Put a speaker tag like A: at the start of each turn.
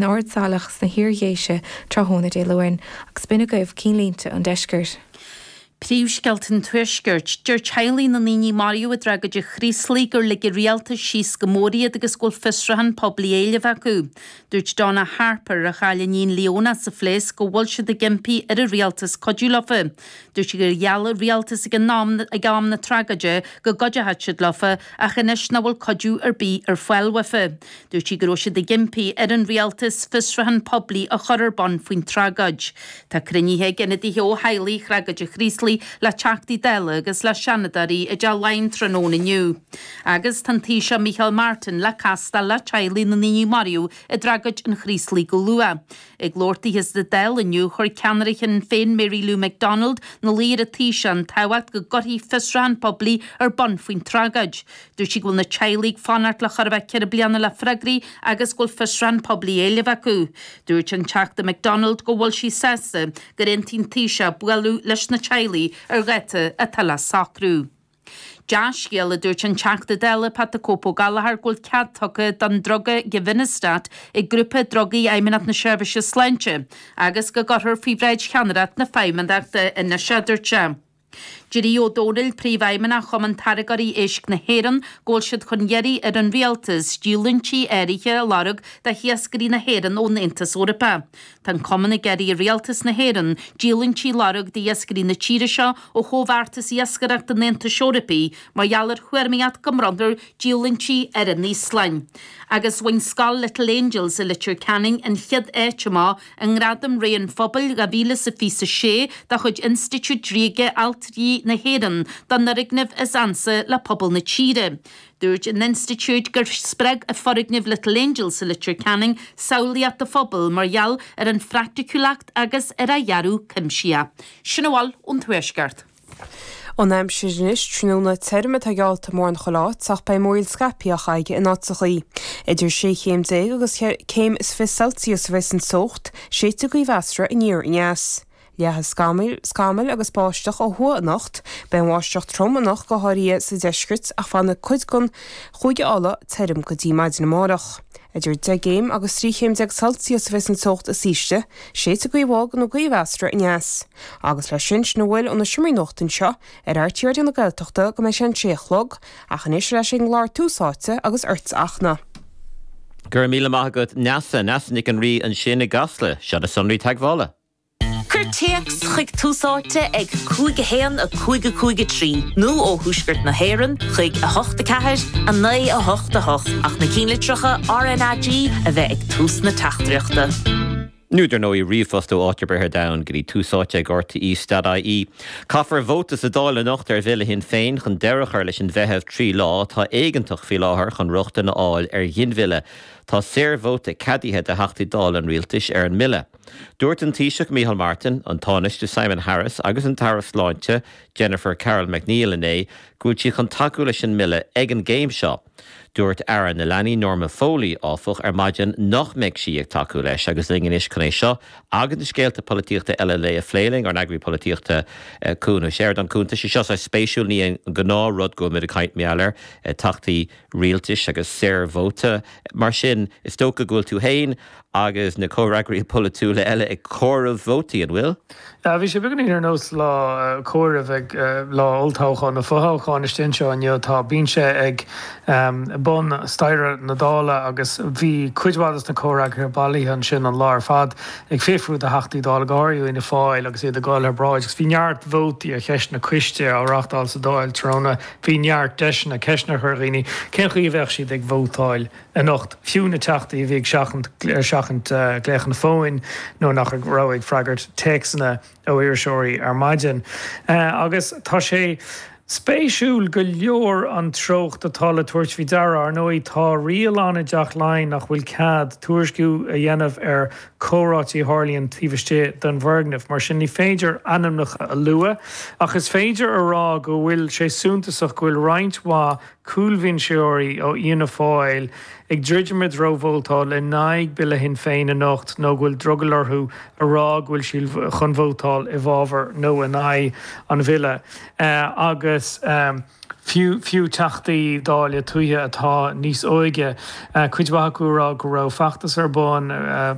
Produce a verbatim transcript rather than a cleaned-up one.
A: Ard Saileach sna hIar-Dhéise tráthnóna Dé Luain agus b'in agaibh cinnlínte an deiscirt.
B: Príomhscéalta an Tuaiscirt, deir teaghlaigh na ndaoine maraithe i dtragóid an Chraoslaigh gur lig an rialtas síos go mór iad agus go bhfuil fiosrúchán poiblí á éileamh acu. Dúirt Donna Harper a chaill a iníon Leona sa phléasc go bhfuil siad ag impí ar an rialtas cuidiú leofa. Dúirt sí gur gheall an rialtas ag an am ag am na tragóide go gcuideodh siad leofa ach anois nach bhfuil cuidiú ar bith ar fáil uafa. Dúirt sí go raibh siad ag impí ar an rialtas fiosrúchán poiblí a chur ar bun faoin tragóid. Tá cruinnithe ag ionadaithe ó theaghlaigh thragóid an Chraoslaigh le Teachtaí Dála agus le Seanadóirí i dTeach Laighean tráthnóna inniu. Agus tá an Taoiseach Micheál Martin le castáil le teaghlaigh na ndaoine maraithe i dtragóid an Chraoslaigh go luath. Ag labhairt dithe sa Dáil inniu chuir ceannaire Shinn Féin Mary Lou McDonald ina luí ar an Taoiseach an tábhacht go gcuirfí fiosrúchán poiblí ar bun faoin tragóid. Dúirt sí go bhfuil na teaghlaigh ag fanacht le chóir a bheith ceithre bliana le freagraí agus go bhfuil fiosrúchán poiblí á éileamh acu. Dúirt an Teachta McDonald go bhfuil sí sásta gur aontaigh an Taoiseach bualadh leis na teaghlaigh ar dháta atá le socrú. Dea-scéal a dúirt an Teachta Dála Pat the Cope Ó Gallchóir go bhfuil cead tugtha don druga Givinostat ag grúpa drugaí Fheidhmeannacht na Seirbhíse Sláinte agus go gcuirfear faoi bhráid cheannaireacht na Feidhmeannachta anois é, dúirt sé. Deir Aodh Ó Domhnaill, Príomhfheidhmeannach Chumann Táirgeoirí Éisc na hÉireann, go bhfuil siad chun iarraidh ar an Rialtas díolúintí áirithe a lorg do hiascairí na hÉireann ón Aontas Eorpach. Tá an Cumann ag iarraidh ar Rialtas na hÉireann díolúintí a lorg d'iascairí na tíre seo ó Chomhbheartas Iascaireachta an Aontais Eorpaigh mar gheall ar thuairimíocht go mbronnfar díolúintí ar an Íoslainn. Agus bhain Scoil Little Angels i Leitir Ceanainn an chéad áit amach i nGradam Ré an Phobail dhá mhíle is a fiche a sé de chuid Institiúid Ríoga Ailtirí na hÉireann don fhoirgneamh is ansa le pobal na tíre. Dúirt an institiúid gur spreag foirgneamh Little Angels i Leitir Ceanainn samhlaíocht an phobail mar gheall ar an phraiticiúlacht agus ar a dhearadh cuimsitheach. Sin a bhfuil ón Tuaisceart.
C: An aimsir anois tráthnóna tirim atá geallta mórán chuile áit ach beidh múraíl scaipthe á chaitheamh in áiteachaí. Idir sé chéim déag agus céim is fiche Celsius a bheas an teocht, séidfidh gaoth mheasartha aniar aneas. Leathfaidh scamaill, scamaill agus báisteach ó thuaidh anocht, beidh an bháisteach trom anocht go háirithe sa deisceart ach fanfaidh cuid den Chúige Uladh tirim go dtí maidin amárach. Idir deich gcéim agus trí chéim déag Celsius a bheas an teocht is ísle, séidfidh gaoth bhog nó gaoth mheasartha aneas. Agus leis sin, sin a bhfuil ó na seomraí nuachta anseo ar RTÉ Raidió na Gaeltachta go mbeidh sé an sé a chlog, ach anois ar ais ag an gclár Tús Áite agus ort a Fhachtna.
D: Go raibh míle maith agat Neasa, Neasa Nic an Rí ansin i gCasla. Seo na sonraí teagmhála.
E: Cuir téacs chuig Tús Áite ag cúig a haon a cúig a cúig a trí nó ó Thuaisceart na hÉireann chuig a hocht a ceathair a naoi a hocht a hocht ach na cinnlitreacha RnaG a bheith ag tús na teachtaireachta.
D: Nó dar ndóigh ríomhphost ó áit ar bith ar domhan go dtí tús áite ag RTÉ dot IE. Caithfear vóta sa Dáil anocht ar bhille Shinn Féin chun deireadh a chur leis an bhfeitheamh trí lá atá éigeantach faoi láthair chun rochtain a fháil ar ghinmhilleadh. Tá saorvóta ceadaithe do Theachtaí Dála an Rialtais ar an mbille. Dúirt an Taoiseach Micheál Martin, an Tánaiste Simon Harris agus an tAire Sláinte Jennifer Carroll MacNeill inné go bhfuil siad chun tacú leis an mbille ag an gcéim seo. Dúirt Aire na Leanaí Norma Foley, áfach, ar maidin nach mbeidh sí ag tacú leis agus linn anois chun é seo agus na scéalta polaitíochta eile an lae a phlé linn, ár n-eagraí polaitíochta Cuan Ó Seireadáin. Cuan, tá sé seo saghas spéisiúil, ní an gnáth rud go bhfuil muid ag caint mar gheall air, Teachtaí rialtais agus saorvóta. Mar sin, is dócha go bhfuil tú féin agus na comhfhreagraithe polaitiúla eile ag comhaireamh vótaí, an bhfuil?
F: Bhí sé beagáinín ar nós lá comhairimh ag lá olltoghcháin nó fothoghcháin istigh anseo inniu. Tá binse ag bun staighre na Dála agus bhí cuid mhaith de na comhfhreagraithe bailithe ansin an lá ar fad ag fiafrú de Theachtaí Dála, go háirithe Fhianna Fáil agus iad ag dul thar bráid agus bhí neart vótaí ar cheisteanna coiste á reáchtáil sa Dáil tráthnóna. Bhí neart deiseanna ceisteanna a chur ar dhaoine cén chaoi a bheadh siad ag vótáil anocht, fiú na Teachtaí a bhí ag seachaint seachaint glaochanna fóin nó nach raibh ag freagairt téacsanna ó iriseoirí ar maidin. Agus tá sé spéisiúil go leor an treocht atá le tabhairt faoi deara. Ar ndóigh, tá riail ann i dTeach Laighean nach bhfuil cead tuairisciú a dhéanamh ar chomhráití a tharlaíonn taobh istigh den bhfoirgneamh. Mar sin, ní féidir ainmneacha a lua, ach is féidir a rá go bhfuil sé suntasach go bhfuil roinnt mhaith cúlbhinseoirí ó Fhianna Fáil ag druidim i dtreo vótáil in aghaidh Bille Shinn Féin anocht nó go bhfuil drogall orthu a rá go bhfuil siad chun vótáil i bhfabhar nó in aghaidh an bhille. Agus fiú fiú Teachtaí Dála tuaithe atá níos óige, cuid mhaith acu ag rá go raibh feachtas ar bun,